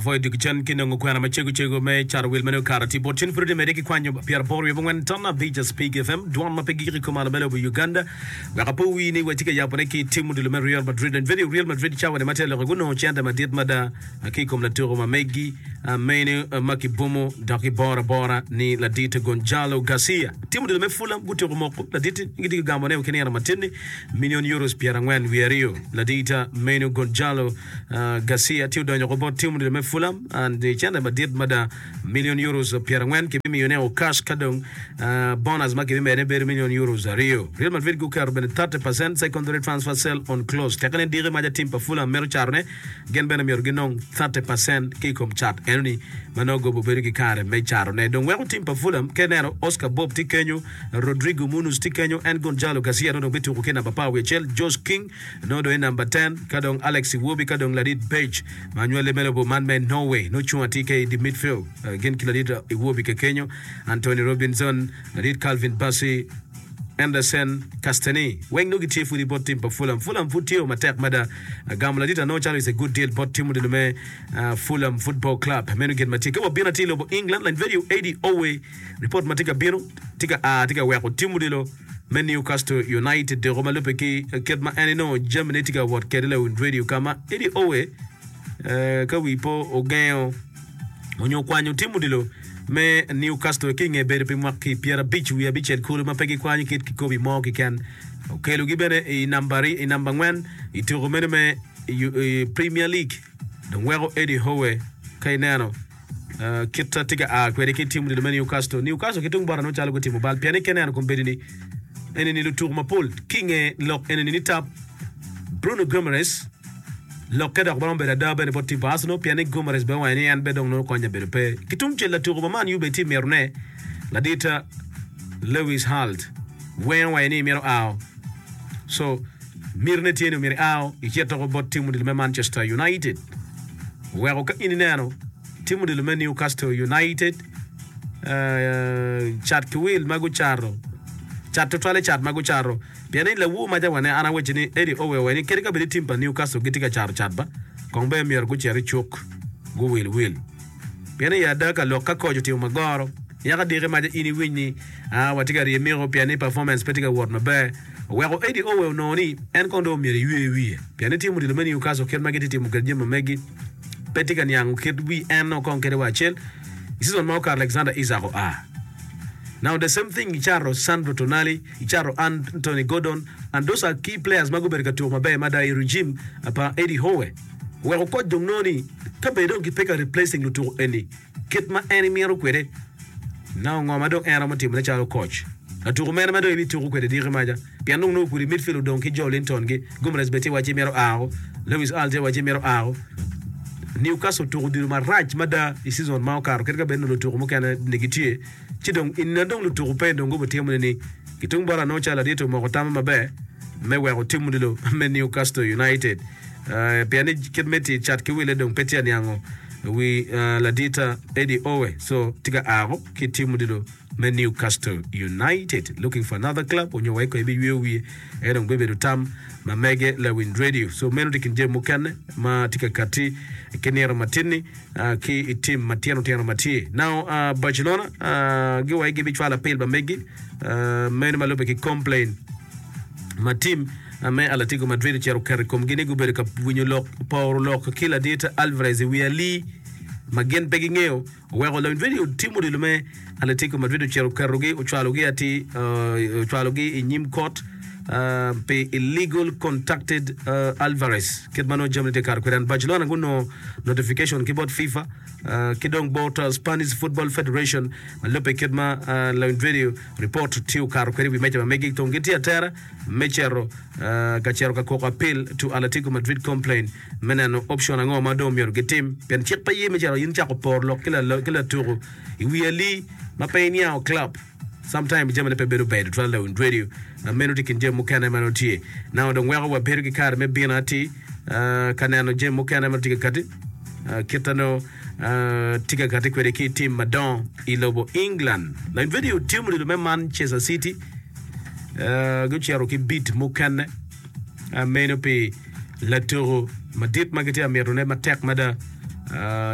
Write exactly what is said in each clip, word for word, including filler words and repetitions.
Apwoyo diki cen ki nongo kwena macego cego me cato wil meno okato atir bot cen pud oti mede ki kwanyo pyeraboro wiye abongwen ton abic Speke F M, dwon ma pe gik i kom malo me lobo Uganda. Wek apo wii ni watye ka yabone ki tim odilo me Real Madrid. And video Real Madrid cawa-ni ma tye loko gunongo cente madit mada ki i kom latuko ma megi meno ma kibumo dok kiboro abora ni ladit Gonzalo Garcia. Tim odilo me Fulham gutyeko moko ladit-ti ni gitye ka gamone ki nino matin-ni milion euros pyerangwen wiye aryo. Ladit meno Gonzalo Garcia tye odonyo oko bot tim odilo me Fulham and cente madit mada milion euros pyerangwen kibimiyone o cash ka dong bonus ma kibimedone bedo milion euros aryo. Real Madrid guketo bene thirty percent secondary transfer sell on clause teke ni diki maca tim pa Fulham mito catone gin bene myero ginong thirty percent ki i kom cat enoni ma nongo gobo bedo ki kare me catone. Dong weko tim pa Fulham ka ineno Oscar Bobb tye kenyo, Rodrigo Muniz tye kenyo, en Gonzalo Garcia nongo dong bituko ki namba apar wiye acel, Josh King nongo dong i namba ten, ka dong Alex Iwobi ka dong ladit Berge ma nywale me lobo man me Norway nongo cung atir ka i di midfield gin ki ladit Iwobi kekenyo, Antonee Robinson, ladit Calvin Bassey, Anderson, Castany weng nongo gitye pud i bot tim pa Fulham. Fulham pud tye matek mada. Gamo ladit anongo calo is a good deal bot tim odilo me Fulham Football Club. Meno gin ma tye. Ka wabino atir i lobo England, lany vedio Eddie Owe report ma tye ka bino tye ka a tye ka weko tim odilo me Newcastle United doko ma lubbe ki kit ma en inongo jamine tye ka wot kwede lawiny radio ka ma Eddie Owe ka wi po ogengo onyo okwanyo tim odilo me Newcastle ki i nge bedo pi mwaki pyerabic wiye abicel kulu ma pe gikwanyo kit kikobi mo keken. Okelogi bene i namba i namba angwen i tuko meno me Premier League. Dong weko Eddie Howe ka ineno kit tye ka a kwede ki tim odilo me Newcastle. Newcastle ki tung bota nongo calo gutimo bal pien ni ka ineno kombeddi ni enini lutuko mapol ki i nge lok enini ni tap Bruno Guimaraes Lokke dok romo bedo ada bene bot tim pa Arsenal pien ni Guimaraes bene owaco ni en bene dong nongo konya bedo pe. Ki tungcel latuko pa Man U bene tye mitone ladit Lewis Halt weng owaco ni mito ao so mitine tye ni myero iao icit doko bot tim odilo me Manchester United oweko ka in ineno tim odilo me Newcastle United cat ki wil ma gucato cat tutwalle cat ma gucato Pien ni lawur maca wane an awacci ni Eddie Owe owaco ni kadi ka bed ni tim pa Newcastle gitye ka cato cat ba, kong ber myero gucit i cuk guwil wil. Pien ni i ada ka lok ka koc otimo magoro, yaka diki maca in iwiny ni aa watye ka ryemiko pien ni performance pe tye ka wot maber. Oweko Eddie Owe onongo ni en kong dong myero eywe wiye. Pien ni tim odilo me Newcastle kit ma gitye timo kwede jami ma megi pe tye ka niango kit wi en nongo kong kadi wa acel. I season ma okato Alexander Isak oa. Now the same thing icato Sandro Tonali, icato Anthony Gordon and those are key players ma gubedo ka tuko maber mada i regime pa Eddie Howe. Oweko koc dong nongo ni ka bed dong gipe ka replacing lutuko eni kit ma en imito kwede, now ngo ma dong en romo timone calo koc? Latuko mene ma dong ibituko kwede diki maca? Pien dong nongo kudi midfield odong ki Joelinton gi, Guimaraes bene tye wacci mito ao, Lewis Hall tye wacci mito ao. Newcastle otuko odilo marac mada i season ma okato kadi ka bed ni lutuko mukene ni gitye ci dong i nino dong lutuko pe dong gubitimo ni ni ki tung bot anongo calo ladit omoko tamme maber me weko tim odilo me Newcastle United pien ni kit me tic cat ki wille dong pe tye aniango wi ladita Eddie Owe so tye ka ako ki tim odilo me Newcastle United looking for another club onyo wa iko ebi yweyo wiye en dong bibedo tam ma mege lawiny radio so meno tye kin jami mukene ma tye ka kati ki nino matinni ki i tim matino tino ma tye now Barcelona giwaci gibicwalo apil pa megi meno ma lubbe ki complain ma tim me Atletico Madrid ocito oketo i komgi ni gubedo ka winyo lok poro lok ki ladit Alvarez i wi alii ma gin pe gingeyo. Oweko lawiny radio tim odilo me Atletico Madrid ocito oketogi ocwalogi atir ocwalogi i nyim kot pi illegal contacted Alvarez kit ma nongo jamine tye kato kwede. And Barcelona gunongo notification ki bot FIFA ki dong bot Spanish Football Federation ma lubbe kit ma lawiny radio report tye okato kwede i wi meja ma megi dong gitye atera me cito ka cito ka koko appeal to Atletico Madrid complain me neno option ango ma dong myero gitim pien cik pe ye me cito in cako poro lok ki latuku i wi alii ma pe iniango club sometime jamine pe bedo ber tutwal lawiny radio meno tye kin jami mukene ma nongo tye now dong weko wabedo ki kare me bino atir ka neno jami mukene ma tye ka kati kita nongo tye ka kati kwede ki tim madongo i lobo England lawiny radio tim odilo me Manchester City gucito ki bid mukene meno pi latuko madit ma gitye ka mitone matek mada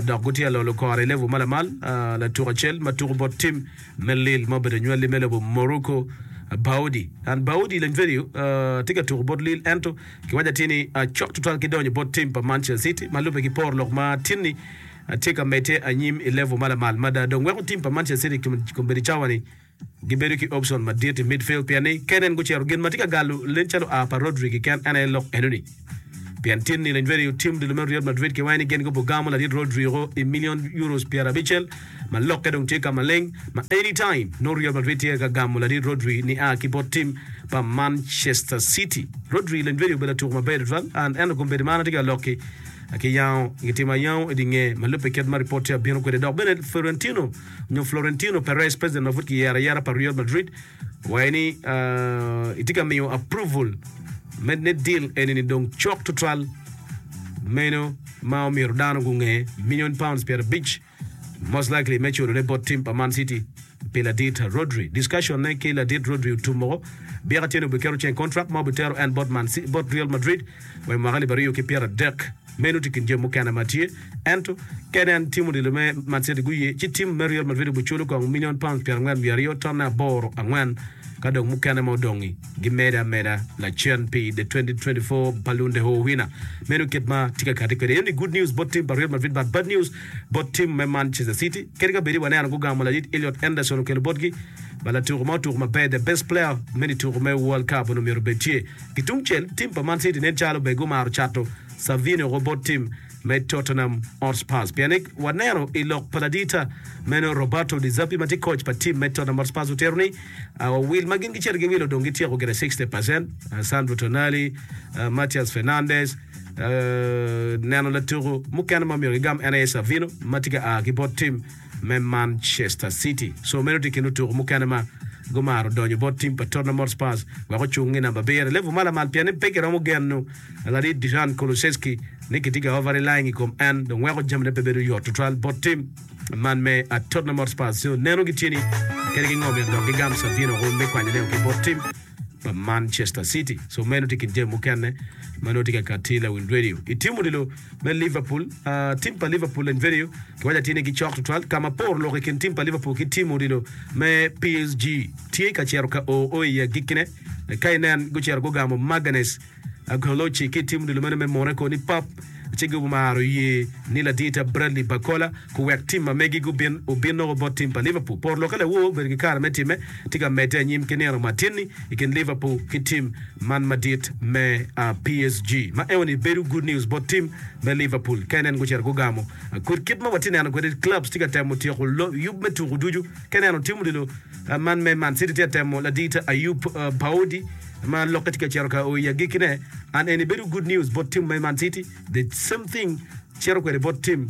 Dok gutye ka lolo kore i level ma lamal. Latuk acel ma tuko bot tim me Lille ma obedo anywalli me lobo Morocco, Baoudi. And Baoudi lony vedio tye ka tuko bot Lille ento kiwaco atir ni cok tutwal ki donyo bot tim pa Manchester City ma lubbe ki poro lok ma tin-ni tye ka medde anyim i level ma lamal mada. Dong weko tim pa Manchester City kombeddi cawa-ni Gibedo ki option madit i midfield pien ni kenen gucito gin ma tye ka galo nen calo oa pa Rodri keken en aye lok enoni. Pien tin ni Leny tim dul me Real Madrid ki waco ni gin gubogamo ladit Rodrigo i million euros pyerabicel ma lokke dong tye ka maleng ma anytime nongo Real Madrid tye ka gamo ladit Rodri nia ki bot tim pa Manchester City. Rodri Leny obedo latuko maber tutwal and ento kombeddi ma an atye ka lok-ki ki yango gitimo ayango i di nge ma lubbe kit ma ripot tye abino kwede dok bene Fiorentino nyo Florentino Perez, president ma pud kiyero ayera pa Real Madrid, owaco ni etye ka miyo approval me ne deal eni-ni dong cok tutwal meno ma omyero dano gunge million pounds pyerabic most likely me culone bot team pa Man City pi ladit Rodri. Discussion ne ki ladit Rodri otum woko. Byek atyeni obiketo ceng contract ma obitero en bot Man City, bot Real Madrid wa i mwaka alip aryo ki pyeradek. Meno tye kin jami mukene ma tye. Ento, ka en tim odilo me Man City guye, ci tim me Real Madrid obiculo kong milion pounds pyerangwen wiye aryo tonne aboro angwen ka dong mukene ma odong-ngi gimede ameda lacen pi the twenty twenty-four Ballon d'Or winner. Meno kit ma tye ka kati kwede. Eno ni good news bot tim pa Real Madrid but bad news bot tim me Manchester City. Kadi ka bedi waneno gugamo ladit Elliot Anderson okelo botgi ba latuko ma otuko maber the best player me nituko me World Cup onongo myero obed tye. Ki tungcel, tim pa Man City nen calo bene gumaro cato Savinho woko bot tim me Tottenham Hotspurs pien ni waneno i lok pa ladita meno Roberto De Zerbi ma tye coach pa tim me Tottenham Hotspurs otito ni wil ma gin gicito giwilo dong gityeko gire sixty percent Sandro Tonali, Matheus Fernandes neno latuko mukene ma myero gigam en aye Savinho ma tye ka a ki bot tim me Manchester City. So meno tye i kin lutuko mukene ma gumaro donyo bot tim pa Tottenham Hotspurs wek ocung i namba abiro i level ma lamal pien ni pe kiromo geno ladit Dejan Kulusevski ni kitye ka over relying i kom en dong weko jamine pe bedo yot tutwal bot tim man me Tottenham Hotspurs. So neno gitye ni kadi ki ngo myero dok gigam Savinho me kwanyone ki bot tim pa Manchester City. So meno tye kin jami mukene ma nongo tye ka kati lawil radio. I tim odilo me Liverpool, uh, tim pa Liverpool and video kiwaco atir ni gicok tutwal ka ma por lok i kin tim pa Liverpool ki tim odilo me P S G tye ka cito ka o o i agikkine. Ka inen gucito gugamo Magalhaes Goloci ki tim odilo meno me Monaco ni pap ci gumaro ye ni ladita Bradley Barcola kuwek tim ma megi gubin obin noko bot tim pa Liverpool. Por lokke lawor obedo ki kare me timme tye ka medde anyim ki nino matin-ni i kin Liverpool ki tim man madit me P S G ma eno ni bedo good news bot tim me Liverpool ka inen gucito gugamo kut kit ma watye neno kwede clubs tye ka temo tyeko yub me tuko ducu ka ineno tim odilo man me Man City tye ka temo ladita Ayub Baudi ma lokke tye ka cito ka o i agikkine and eni bedo good news bot tim me Man City the same thing cito kwede bot tim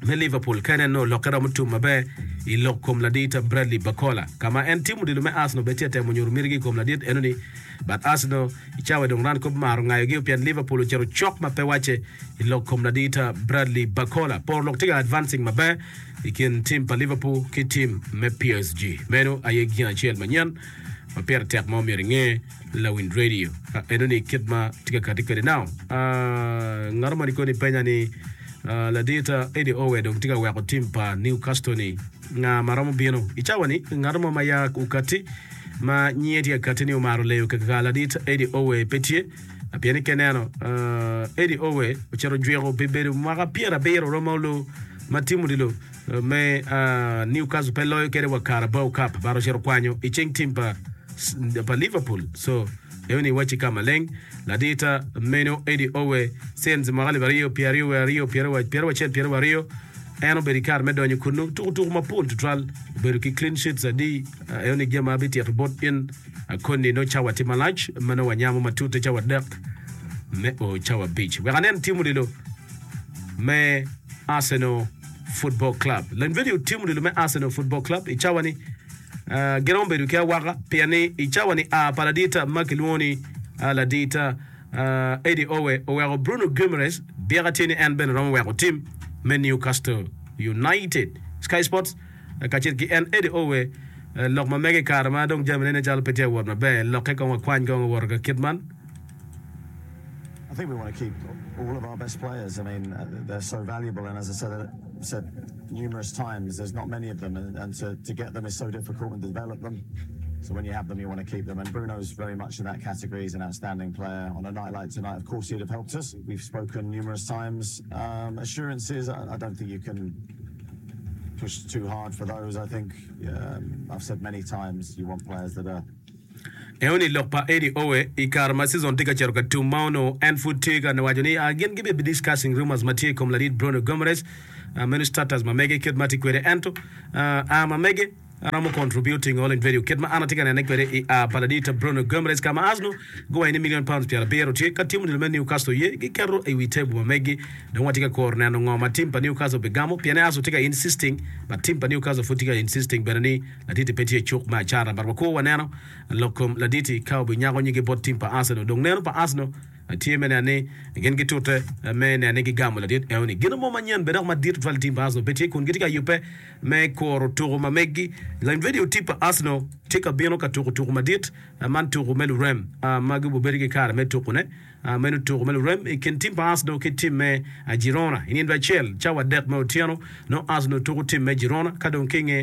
me Liverpool ka ineno lokke romo tum maber i lok kom ladit Bradley Barcola ka ma en tim odilo me Arsenal bene tye ka temo nyuto mitigi i kom ladit enoni but Arsenal i cawa dong ran kop maro ngayogi pien Liverpool ocito cok ma pe wacce i lok kom ladit Bradley Barcola. Por lok tye ka advancing maber i kin tim pa Liverpool ki tim me P S G. Meno aye gin acel manyen ma pire tek ma omyero inge lawiny radio enoni kit ma tye ka kati kwede. Now, ngat mo ni koni penya ni ladit Eddie Howe dong tye ka weko tim pa Newcastle ni nga ma romo bino i cawa ni ngat mo ma ya okati ma nyinge tye ka kati ni omaro leyo kaka ladit Eddie Howe pe tye pien ni keneno Eddie Howe ocito jwiko pi bedo mwaka pyerabiro romo olu ma tim odilo me Newcastle pe loyo kede wa Carabao Cup bar ocito kwanyo i cing tim pa pa Liverpool so eno ni wacci ka maleng ladita meno Eddie Howe since mwaka alip aryo pyeraryo wiye aryo pyeraryo acel pyeraryo aryo en obedo i kare me donyo kunnu tuko tuko mapol tutwal obedo ki clean sheets adi eno ni gin ma abitito bot in koni no cawa tye malac ma nongo wanyamo matute cawa adek me o cawa abic wek anen tim odilo me Arsenal Football Club. Lany video tim odilo me Arsenal Football Club i cawa ni giromo bedo ki awaka pien ni i cawa ni a pa ladita ma kilwongo ni ladita Eddie Howe oweko Bruno Guimaraes byeka tye ni en bene romo weko tim me Newcastle United. Sky Sports kacel ki en Eddie Howe lok ma mege i kare ma dong jamine nen calo pe tye ka wot maber lokke kong wakwany kong owoto ka kit man. I think we want to keep All of our best players, I mean, uh, they're so valuable, and as I said, said numerous times, there's not many of them, and, and to, to get them is so difficult and develop them. So when you have them, you want to keep them. And Bruno's very much in that category. He's an outstanding player. On a night like tonight, of course, he'd have helped us. We've spoken numerous times. Um, assurances, I, I don't think you can push too hard for those. I think um, I've said many times you want players that are Eo ni lok pa Eddie Howe i kare ma season tye ka cito ka tum ma onongo en pud tye ka waco ni uh, gin gibe discussing rumors ma tye i kom ladit Bruno Guimaraes uh, meno status ma mege kit ma tye kwede ento uh, a ma mege romo contributing all in video kit ma an atye ka nene kwede i a pa ladit Bruno Guimaraes ka ma Arsenal guwayo ni million pounds pyera abiro tye ka tim odilo me Newcastle ye giketo i wi table ma megi dong watye ka koro neno ngo ma tim pa Newcastle bigamo pien Arsenal tye ka insisting but tim pa Newcastle pud tye ka insisting bene ni laditi pe tye i cuk me acata but wakwo waneno lok kom laditi ka obinyako nyige bot tim pa Arsenal dong neno pa Arsenal tye me neno ni gin gitute me neno ni gigamo ladit eo ni gino mo manyen bene dok madit tutwal tim pa Arsenal pe tye kun gitye ka yubbe me koro tuko ma megi lany video tim pa Arsenal tye ka bino ka tuko tuko madit man tuko me lurem ma gibobedo ki kare me tukone meno tuko me lurem i kin tim pa Arsenal ki tim me Girona i nindo acel cawa adek me otyeno no Arsenal tuko tim me Girona ka dong ki nge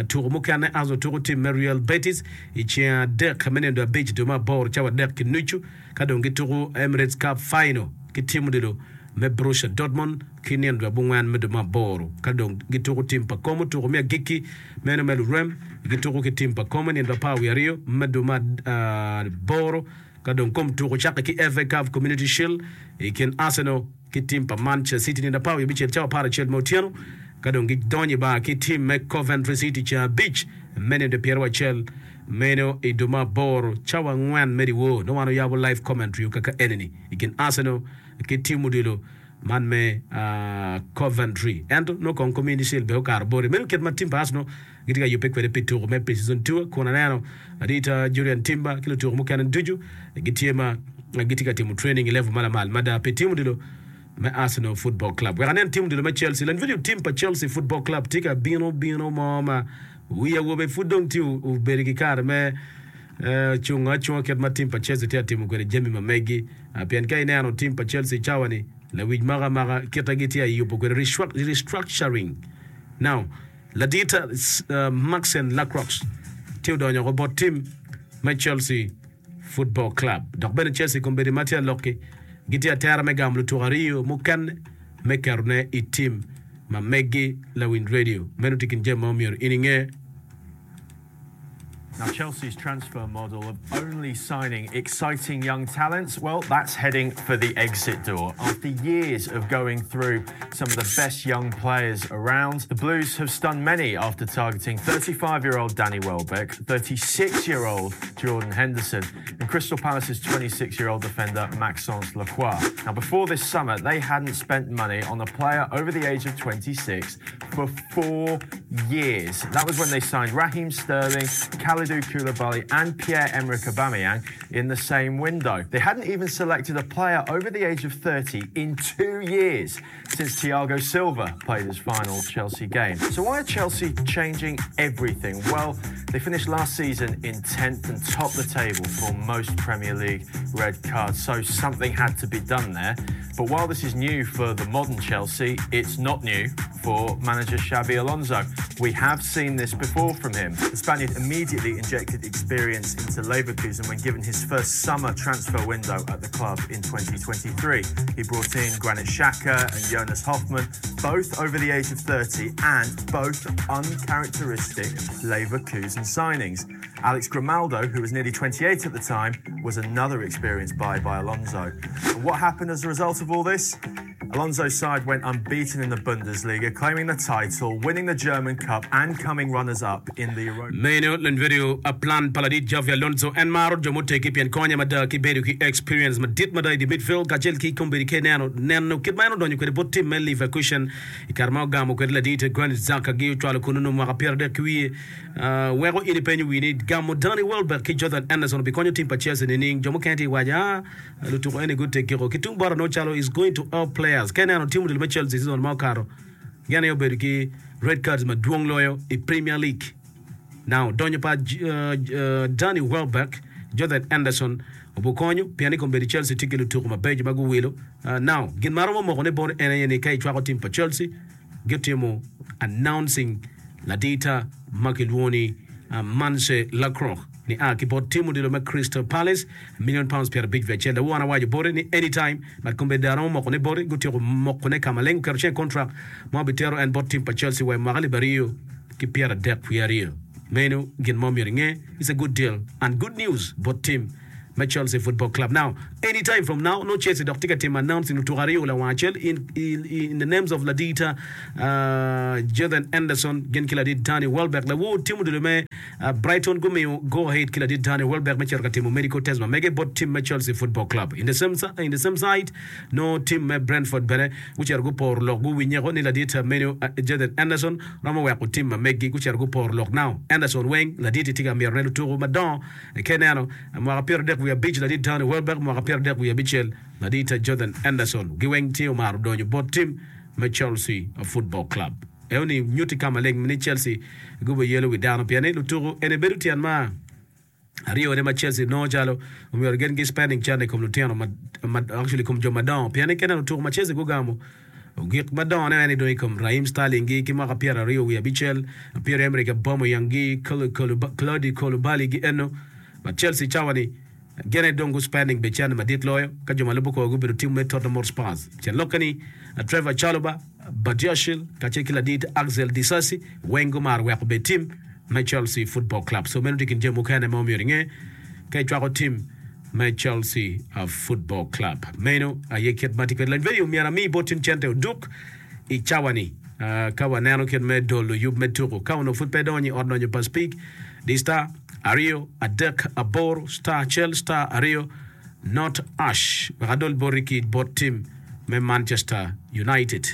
tuko mukene Arsenal tuko tim me Real Betis i ceng adek me nindo abic dwe me aboro cawa adek ki nucu ka dong gituko Emirates Cup Final ki tim odilo me Borussia Dortmund ki nindo abongwen me dwe me aboro ka dong gituko tim pa Como tuko me agikki meno me lurem gituko ki tim pa Como nindo apar wiye aryo me dwe me aboro ka dong kom tuko cakke ki F A Cup Community Shield i kin Arsenal ki tim pa Manchester City nindo apar wiye abicel cawa apar acel me otyeno ka dong gidonyo i bar ki tim me Coventry City ceng abic me nindo pyeraryo acel meno i dwe me aboro cawa angwen me dyewor nongo wan oyabo live commentary kaka enini i kin Arsenal ki tim odilo man me uh, Coventry ento nongo kong Community Shield be okato boti meno kit ma tim pa Arsenal gitye ka yubbe kwede pi tuko me pre-season tour kun aneno adita Julian Timber ki lutuko mukene ducu gitye ma gitye ka timo training i level ma lamal mada pi tim odilo me Arsenal Football Club. Wek anen tim odilo me Chelsea lan video tim pa Chelsea Football Club tye ka bino bino mo ma wi awobe pud dong tye obedo ki kare me cungo acunga kit ma tim pa Chelsea tye ka timo kwede jami ma megi pien ka ineno tim pa Chelsea cawa ni lawic maka maka kite gitye ka yubo kwede restructuring. Now ladita uh, Maxen Lacroix tye odonyo ko bot tim me Chelsea Football Club. Dok bene Chelsea kombeddi ma tye alokki gitye atera me gamo lutuko aryo mukene me ketone i tim ma megi lawiny radio meno tye kin jami ma omyero in inge. Now, Chelsea's transfer model of only signing exciting young talents, well, that's heading for the exit door. After years of going through some of the best young players around, the Blues have stunned many after targeting thirty-five-year-old Danny Welbeck, thirty-six-year-old Jordan Henderson, and Crystal Palace's twenty-six-year-old defender Maxence Lacroix. Now, before this summer, they hadn't spent money on a player over the age of twenty-six for four years. That was when they signed Raheem Sterling, Kalidou Koulibaly and Pierre-Emerick Aubameyang in the same window. They hadn't even selected a player over the age of thirty in two years since Thiago Silva played his final Chelsea game. So why are Chelsea changing everything? Well, they finished last season in tenth and topped the table for most Premier League red cards, so something had to be done there. But while this is new for the modern Chelsea, it's not new for manager Xabi Alonso. We have seen this before from him. The Spaniard immediately injected experience into Leverkusen when given his first summer transfer window at the club in twenty twenty-three. He brought in Granit Xhaka and Jonas Hofmann, both over the age of thirty and both uncharacteristic Leverkusen signings. Alex Grimaldo, who was nearly twenty-eight at the time, was another experienced buy by Alonso. And what happened as a result of all this? Alonso's side went unbeaten in the Bundesliga, claiming the title, winning the German Cup and coming runners-up in the Europa. Meno len video a plan paladit Xabi Alonso en maro jo moteki pien konye mada ki bedo ki experience madit mada i di midfield kacel ki kombeddi ke neno neno kit ma en odonyo kwede bot tim me Leverkusen i kare ma ogamo kwede ladit Granit Xhaka gi ocwalo kunu no mwaka pyera adek ki wiye uh, weko in ipenyo wi ni gamo Danny Welbeck ki Jordan Henderson obikonyo tim pa Chelsea nining jo mukene tye waco ah lutuko eni gutekiko ki tung bota no calo is going to help players ke neno tim odilo me Chelsea season ma okato gin aye obedo ki red cards madwong loyo i Premier League. Now donyo pa uh, uh, Danny Welbeck, Jordan Henderson Obukonyo pien i kombeddi Chelsea tye ki lutuku mabeco ma guwilo. Uh, now gin ma romo moko ne bot en aye ni ka icwako tim pa Chelsea gitimo announcing ladita ma kilwongo ni uh, Manse Lacroix ni a ki bot tim odilo me Crystal Palace million pounds pyerabic wiye acel. Lawon awaco bote ni anytime but kombeddi aromo moko ne bote gutyeko moko ne ka maleng oketo ceng contract ma obitero en bot tim pa Chelsea wa i mwaka alip aryo ki pyeradek wiye aryo. Meno gin mo myero inge, it's a good deal and good news bot tim me Chelsea Football Club. Now, anytime from now, no Chelsea dok tye ka timo announcing lutuko aryo lawang acel in, in, in the names of Ladita uh, Jordan Henderson gin ki ladit Danny Welbeck. Lawor timo dilo me uh, Brighton gumiyo go ahead ki ladit Danny Welbeck me cito ka timo medical test ma mege bot team me Chelsea Football Club. In the same, in the same side, no team me Brentford bene gucito guporo lok guwinyeko ni ladit meno uh, Jordan Henderson romo weko team ma megi gucito guporo lok now. Henderson weng ladit tye ka myero ne lutuko madongo ke neno mwaka pyero adek wiye abic ladit Danny Welbeck mwaka pyero adek wiye abicel ladit Jordan Henderson giweng tye omaro donyo bot team me Chelsea Football Club. Eo ni nyuti ka maleng ni Chelsea gubo yelo wi dano pien ni lutuko ene bedo tyen ma aryo ne ma Chelsea nongo calo omyero gin gi spending cente i kom lutino ma, ma actually kom jo madongo pien ni kene lutuko ma Chelsea gugamo ogik madongo ne en dong i kom Raheem Sterling gi ki mwaka pyero aryo wiye abicel Pierre-Emerick Aubameyang gi Claude Koulibaly gi eno ma Chelsea cawa ni gene dong gu spending be cente madit loyo ka jo ma lubo kor gubedo team me Tottenham Hotspur. Tyen lokke ni Trevor Chalobah, Badiashile kacel ki ladit Axel Disasi weng gumaro weko be team me Chelsea Football Club. So meno tye kin jami mukene ma omyero inge ka icwako team me Chelsea uh, Football Club. Meno aye kit ma tye kwede lony video myero ami bot tin cente oduk i cawa ni uh, ka waneno kit me dolo yub me tuko ka onongo pud pe donyo i ot donyo pa Speak di star aryo adek aboro star acel star aryo not ash wek adol boti ki bot team me Manchester United.